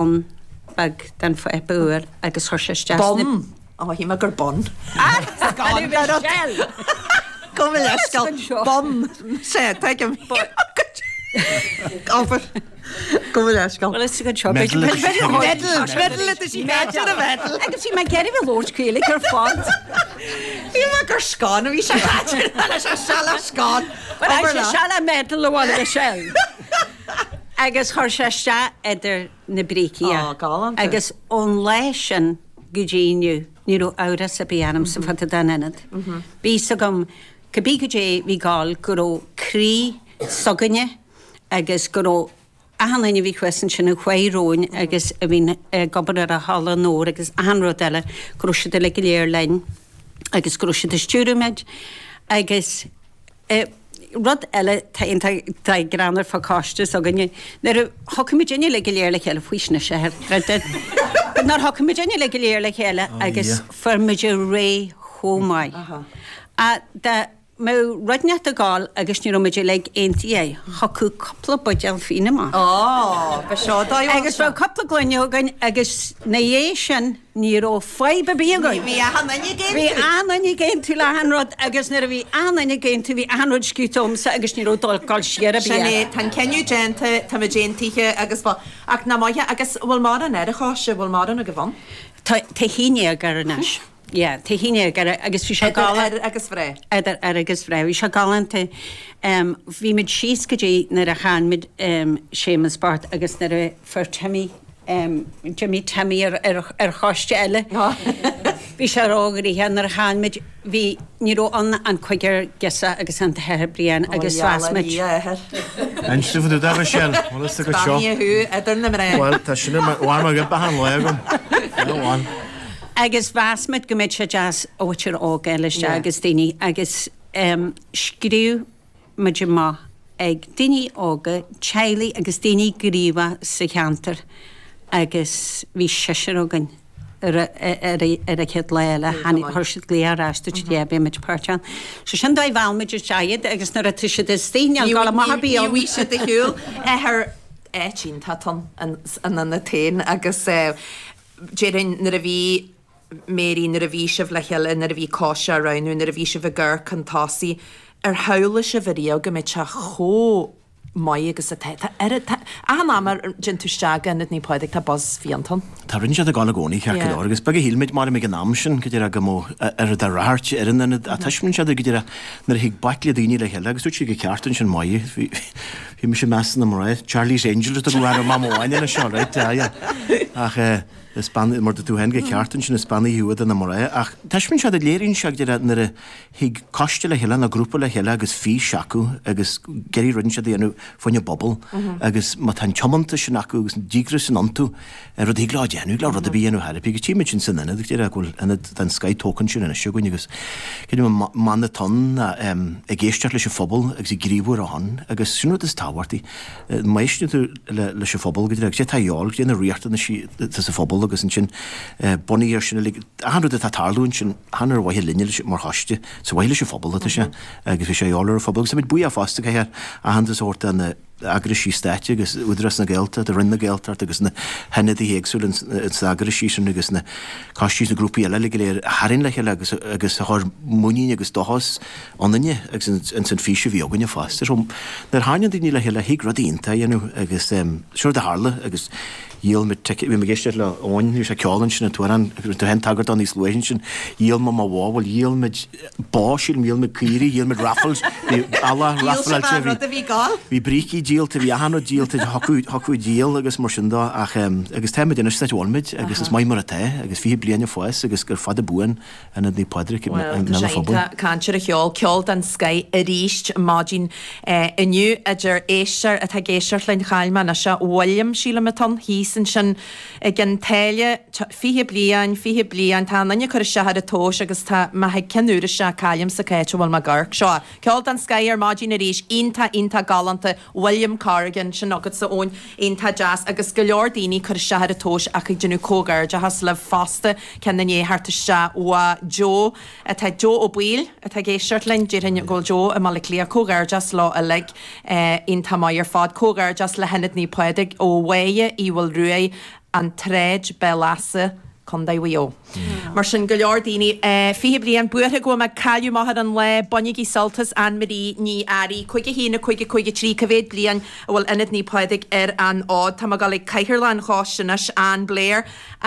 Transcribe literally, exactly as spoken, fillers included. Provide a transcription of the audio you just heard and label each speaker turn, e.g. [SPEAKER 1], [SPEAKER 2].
[SPEAKER 1] Bonn beag den pháipéar úr agus chuir sé isteach
[SPEAKER 2] Bonn? Ó, shíl mé gur bun. Gabh mo leithscéal. Bonn. Sea, tuigim. Obair. Gabh mo leithscéal.
[SPEAKER 1] Bhuel, is go seo.
[SPEAKER 2] Medal. Medal atá sí caite ar a medal.
[SPEAKER 1] Agus bhí mé ag iarraidh bheith labhairt Gaeilge ar fad.
[SPEAKER 2] Shíl mé gur scone a bhí sé caite leis an seala scone.
[SPEAKER 1] Bhuel, sé seala medal a bhfuil Michelle. Agus chuir sé isteach idir na brící é.
[SPEAKER 2] Ó, galánta.
[SPEAKER 1] Agus ón lá sin go dtí inniu, ní raibh amhras ar bith ormsa fá dtaobh den ionad. Bhí fhios agam, cibé goidé bhí ag gabháil, go raibh croí s'againne agus go raibh achan duine a bhí thuas ansin a chuaigh romhainn agus a bhí ag obair ar an halla mór agus achan rud eile, go raibh siad uilig go léir linn agus go raibh siad ag stiúradh muid agus Rud eile tá iontach greannmhar fá choiste s'againne, nuair a thiocfaidh muidinne uilig go léir le chéile, faoistin a seithe, but nuair a thiocfaidh muidinne uilig go léir le chéile agus fuair muid réidh chomh maith. Ach dá mbeadh rud inteacht ag gabháil agus ní raibh muid uilig aontaithe, thiocfadh cúpla buidéal fíon amach.
[SPEAKER 2] Ó, ba seo dóigh
[SPEAKER 1] Agus bheadh cúpla gloine againn agus 'na dhiaidh sin, Ní raibh fadhb ar bith againn.
[SPEAKER 2] Bhí achan duine ag aontú.
[SPEAKER 1] Bhí achan duine ag aontú le achan rud agus nuair a bhí achan duine ag aontú bhí achan rud scríte agamsa agus ní raibh dul dul siar ar bith
[SPEAKER 2] Sin é,
[SPEAKER 1] air.
[SPEAKER 2] tá an cinneadh déanta, táimid aontaithe agus bhuel, ach nach maith é, agus bhfuil mórán ar an choiste, bhfuil mórán agaibh ann?
[SPEAKER 1] Tá, tá haon déag air anois. Yeah, tá haon déag air agus bhí sé
[SPEAKER 2] Idir
[SPEAKER 1] galánta.
[SPEAKER 2] fhir agus mhná.
[SPEAKER 1] Idir fhir agus mhná, bhí sé galánta. Bhí muid síos go dtí nuair a chaill muid Séamus bocht agus nuair a fuair Timmy, D'imigh Timmy ar choiste eile. Bhí sé róghnoitheach nuair a chaill muid, bhí, ní raibh ann ach an cúigear girseach agus an tAthair Brian agus mheas muid.
[SPEAKER 3] Inis domh fá dtaobh de Michelle, bhfuil fhios agat seo?
[SPEAKER 2] Beannaithe thú idir na mná.
[SPEAKER 3] Bhuel, tá sin ar bharr mo ghoib achan lá agam. Go on.
[SPEAKER 1] Agus mheas muid go mbeadh sé deas an mhuintir óg a fháil isteach agus daoine agus scríobh muid amach ag daoine óga, teaghlaigh agus daoine gníomhach sa cheantar agus bhí seisear againn ar an chéad lá eile. Tháinig, chuir siad glaoch ar ais, dúirt siad yeah beidh muid páirteach ann. So sin dóigh mheall muid isteach iad agus nuair atá siad istigh níl dul amach ar bith
[SPEAKER 2] Ní
[SPEAKER 1] ann.
[SPEAKER 2] bhfuil siad ar shiúl. Athair, áit iontach atá ann, an ionad féin agus déarfainn nuair a bhí Mary, nuair a bhí sibh le chéile, nuair a bhí coiste á roghnú, nuair a bhí sibh ag amharc chun tosaigh, ar shamhlaigh sibh ariamh go mbeadh sé chomh maith agus atá? Tá oiread, tá, achan am a dtéann tú isteach go Ionad Naomh Pádraig tá buzz fiánta ann.
[SPEAKER 3] Tá rudaí ag gabháil i gcónaí, ceart go leor, agus beag a shíl muid, mar ag an am sin, go díreach go mbeadh oiread de ráchairt ar an ionad, ach taispeánann sé go díreach nuair a thig baicle daoine le chéile, agus dúirt sí go ceart ansin, maith, bhí, bhí mise i measc na mná, Charlie's Angels a tugadh orm am amháin anois seo, right, yeah, yeah. Ach eh, Is bean, mar dúirt tú féin go ceart ansin, is beannaithe thú idir na mná. Ach taispeánann sé, léiríonn sé go díreach nuair a thig coiste le chéile nó grúpa le chéile agus fís acu agus ag iarraidh rud inteacht a dhéanamh fá choinne an bpobal agus má tá an tiomantas sin acu agus an díograis sin iontu, rud a thig leo a dhéanamh, thig leo rud ar bith a dhéanamh thar Agus tchí muid sin san ionad, go díreach go bhfuil ionad den scoith tógtha ansin anois againn agus creidim an mana atá ann ná ag éisteacht leis an phobal agus ag gníomhú ar a shon agus sin rud is tábhachtaí. Má éisteann tú leis an phobal, go díreach, cad é atá a dhíobháil, cad é na riachtanaisí atá sa phobal agus ansin bunaithe ar sin uilig, achan rud atá ag tarlú ansin, chan ar mhaithe linne mar choiste, is ar mhaithe leis an phobal atá sé agus bhí sé a dhíobháil ar an phobal agus táimid buíoch fosta caithfear aitheantas a thabhairt do na eagraisí stáit agus Údarás na Gaeltachta, Roinn na Gaeltachta agus na hionadaithe éagsúla ins na eagraisí sin agus na coistí is na grúpaí eile uilig go léir a tharraing le chéile agus agus a chuir muinín agus dóchas ionainne agus ins an fís a bhí againne fosta. So nuair a tharraingíonn daoine le chéile thig rudaí iontacha a dhéanamh agus sin rud a tharla agus dhíol muid ticéid, bhí mé ag éisteacht le Eoin, bhí sé ag ceol ansin an t-amhrán, rinne tú féin tagairt dó níos luaithe ansin, dhíol mé mo bhó, bhuel dhíol muid bó, sílim, dhíol muid caoirigh, dhíol muid raffles, bhí eallach
[SPEAKER 2] Dhíol sibh
[SPEAKER 3] raffleáilte,
[SPEAKER 2] an
[SPEAKER 3] bhí
[SPEAKER 2] rud a bhí ag gabháil?
[SPEAKER 3] bhí brící díolta, bhí achan rud díolta, thiocfadh thiocfadh díol agus mar sin dó ach agus tá muid anois san áit a bhfuil muid agus is maith mar atá agus fiche bliain ag fás agus gur fada buan Ionad Naomh Pádraig i
[SPEAKER 2] Bhuel, tá
[SPEAKER 3] mbéal
[SPEAKER 2] sé
[SPEAKER 3] an phobail.
[SPEAKER 2] iontach caint ar an cheol, ceol den scoith arís maidin inniu idir éisteoir atá ag éisteacht linn, chaill mé anois é, William, sílim atá ann, thíos ansin i gCionn tSáile, fiche bliain, fiche bliain, tá an duine ag cur isteach ar an tomhas agus tá mé ag cionn uair isteach, caillimse cá háit a bhfuil mé ag amharc. Seo é, ceol den scoith ar maidin arís, iontach, iontach galánta, William Corrigan, sin agatsa Eoin, iontach deas agus go leor daoine ag cur isteach ar an tomhas ach ag déanamh comhghairdeachas libh fosta, ceann i ndiaidh theacht isteach uaidh Joe atá, Joe Ó Baoill atá ag éisteacht linn, déarfainn go bhfuil Joe i mBaile Átha Cliath, comhghairdeas leo uilig, iontach maith ar fad, comhghairdeas le hIonad Naomh Pádraig ó Mháire Uí Mhaoilruaidh An tSráid, Béal Easa, Contae Mhaigh Eo. Mar sin, go leor daoine, fiche bliain, buartha go bhfuil mé ag cailleadh m'athair an lá, bainigí sult as Anne Marie Ní Fhearraigh, cúig a haon, a cúig, a cúig a trí, cá mhéad bliain a bhfuil Ionad Naomh Pádraig ar an fhód? Tá mé ag dul ag cathaoirleach an choiste anois, Ann Blair.